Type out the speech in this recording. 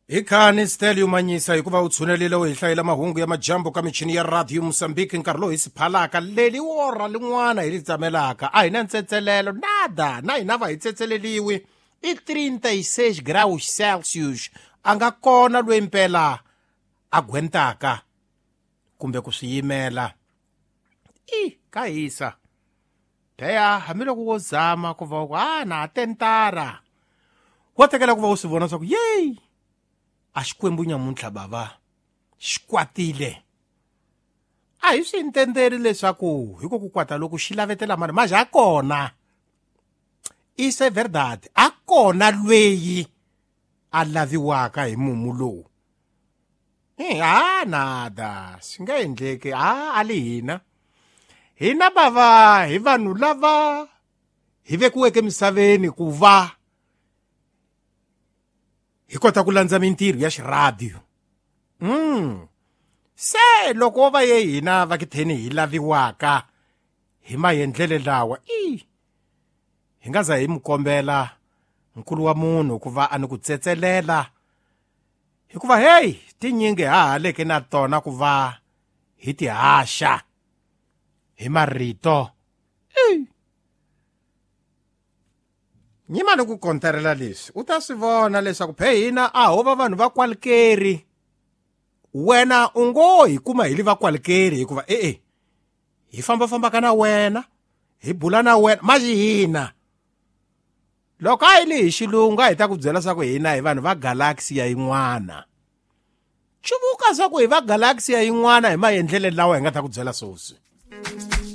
Hi khani Stelio Manyisa hikuva u tshunelile u hi hlayela mahungu ya majambu ka michini ya radio Mozambique nkarhi lowu hi si phalaka leli wora lin'wana hi li tsamelaka a hi na ntsetselelo nada na hina va hi tsetseleliwi i 36 graus Celsius a nga kona loyi mpela a gwentaka kumbe ku swi yimela i ka hisa pheya hambiloko wo zama ku va ku a na ha tentara wa tekela ku va u swi vona swa ku yeyi a xikwembu nyamuntlha bava xi kwatile a hi swi intendeli leswaku hi ku ku kwata loku xi lavetela mani maje a kona isso é verdade a kona lweyi a laviwaka hi mumu lowu ha nada swi nga endleki ha a li hina hina bava hi vanhu lava hi vekiweke emisaveni ku va hi kota ku landza mintirho ya xiradiyo se loko wo va ye hina va kitheni hi laviwaka hi maendlele lawa i hi nga za hi mu kombela nkulu wa munhu ku va a ni ku tsetselela hikuva heyi tinyingi ha haleke na tona ku va hi ti haxa hi marito nyima ni ku konterela leswi u ta swi vona leswaku phe hina a ho va vanhu va kwalikeri wena u ngo hi kuma hi li va kwalikeri hikuva e-e hi fambafambaka na wena hi bula na wena maji hina loko a yi li hi xilungu a hi ta ku byela swa ku hina hi vanhu va galaxy ya yin'wana chuvuka swa ku hi va galaxy ya yin'wana hi maendlele lawa hi nga ta ku byela swoswi.